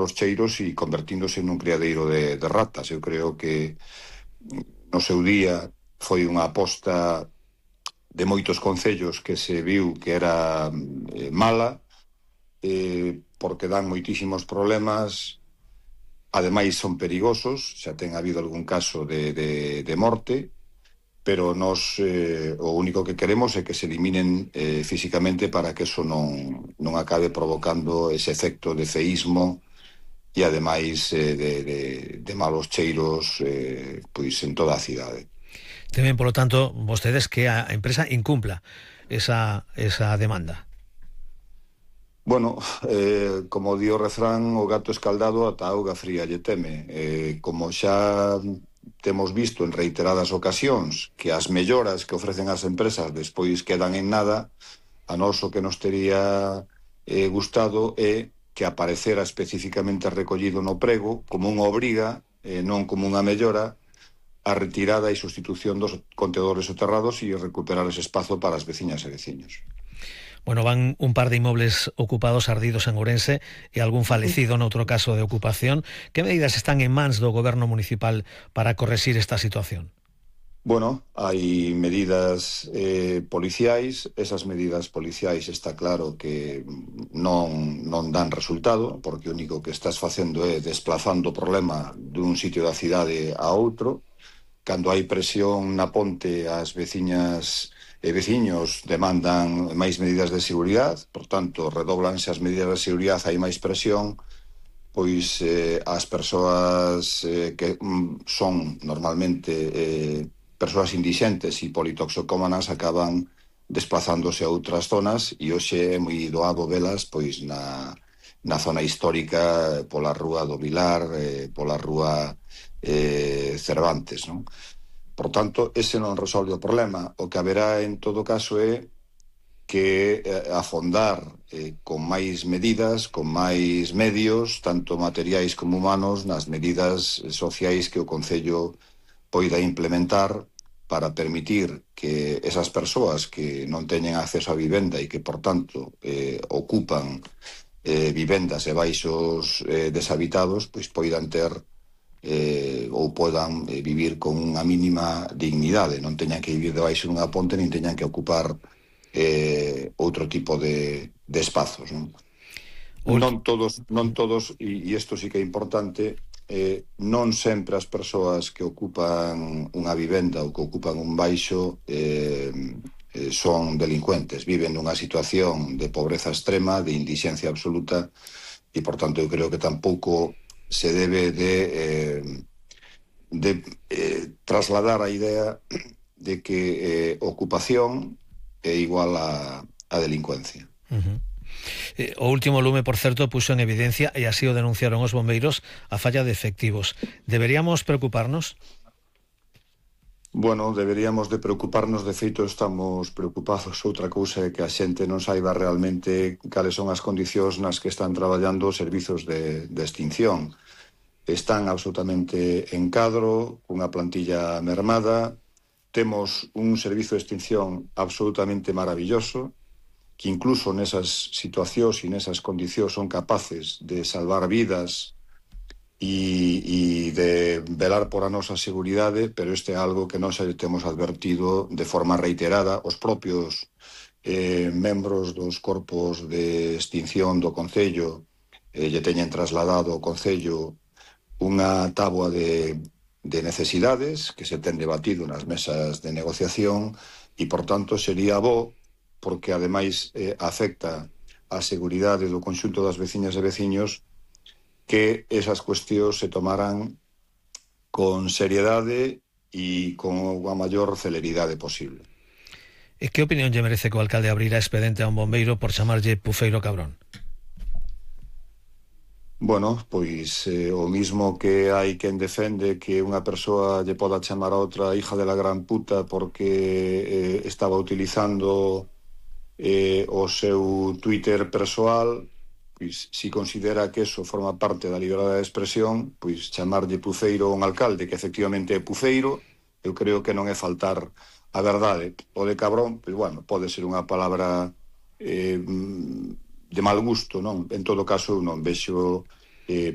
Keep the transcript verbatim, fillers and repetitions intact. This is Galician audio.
os cheiros e convertíndose nun criadeiro de, de ratas. Eu creo que no seu día foi unha aposta de moitos concellos que se viu que era eh, mala, eh, porque dan moitísimos problemas, ademais son perigosos, xa ten habido algún caso de, de, de morte, pero nos eh, o único que queremos é que se eliminen eh, físicamente para que eso non, non acabe provocando ese efecto de ceísmo e ademais eh, de, de, de malos cheiros eh, pois en toda a cidade. Temen, polo tanto, vostedes que a empresa incumpla esa, esa demanda. Bueno, eh, como di o refrán, o gato escaldado ata a auga fría lle teme. Eh, como xa temos visto en reiteradas ocasións que as melloras que ofrecen as empresas despois quedan en nada, a nós o que nos tería eh, gustado é que aparecera especificamente recollido no prego como unha obriga, eh, non como unha mellora, a retirada e sustitución dos contedores soterrados e recuperar ese espazo para as veciñas e veciños. Bueno, van un par de inmobles ocupados ardidos en Ourense e algún falecido noutro caso de ocupación. Que medidas están en mans do goberno municipal para correxir esta situación? Bueno, hai medidas eh, policiais. Esas medidas policiais está claro que non, non dan resultado, porque o único que estás facendo é desplazando o problema dun sitio da cidade a outro. Cando hai presión na ponte, as veciñas e veciños demandan máis medidas de seguridade, por tanto, redoblanse as medidas de seguridade, hai máis presión, pois eh, as persoas eh, que mm, son normalmente eh, persoas indixentes e politoxocómanas acaban desplazándose a outras zonas, e hoxe é moi doado velas pois na, na zona histórica, pola rúa do Vilar, eh, pola rúa eh, Cervantes, non? Por tanto, ese non resolve o problema. O que haberá en todo caso é que eh, afondar eh, con máis medidas, con máis medios, tanto materiais como humanos, nas medidas sociais que o Concello poida implementar para permitir que esas persoas que non teñen acceso a vivenda e que, por tanto, eh, ocupan eh, vivendas e baixos eh, deshabitados, pois poidan ter Eh, ou podan eh, vivir con unha mínima dignidade, non teñan que vivir debaixo dunha ponte, nin teñan que ocupar eh, outro tipo de, de espazos, non? Non todos, non todos, e, e isto sí que é importante, eh, non sempre as persoas que ocupan unha vivenda ou que ocupan un baixo eh, eh, son delincuentes, viven nunha situación de pobreza extrema, de indixencia absoluta, e por tanto eu creo que tampouco se debe de, eh, de eh, trasladar a idea de que eh, ocupación é igual a, a delincuencia. Uh-huh. Eh, o último lume, por certo, puxo en evidencia, e así o denunciaron os bombeiros, a falla de efectivos. Deberíamos preocuparnos? Bueno, deberíamos de preocuparnos, de feito estamos preocupados. Outra cousa é que a xente non saiba realmente cales son as condicións nas que están traballando os servizos de, de extinción. Están absolutamente en cadro, cunha plantilla mermada. Temos un servizo de extinción absolutamente maravilloso, que incluso nesas situacións e nesas condicións son capaces de salvar vidas e, e de velar por a nosa seguridade, pero este é algo que nós temos advertido de forma reiterada. Os propios eh, membros dos corpos de extinción do Concello eh, lle teñen trasladado ao Concello unha táboa de, de necesidades que se ten debatido nas mesas de negociación, e por tanto sería bo, porque ademais eh, afecta a seguridade do conxunto das veciñas e veciños, que esas cuestións se tomaran con seriedade e con a maior celeridade posible. E que opinión lle merece que o alcalde abrira expediente a un bombeiro por chamarlle pufeiro cabrón? Bueno, pois eh, o mismo que hai quen defende que unha persoa lle poda chamar a outra hija de la gran puta porque eh, estaba utilizando eh, o seu Twitter persoal, pois si considera que eso forma parte da liberdade de expresión, pois chamarlle pufeiro a un alcalde que efectivamente é pufeiro, eu creo que non é faltar a verdade. O de cabrón, pois bueno, pode ser unha palabra eh, de mal gusto, non? En todo caso, eu non vexo eh,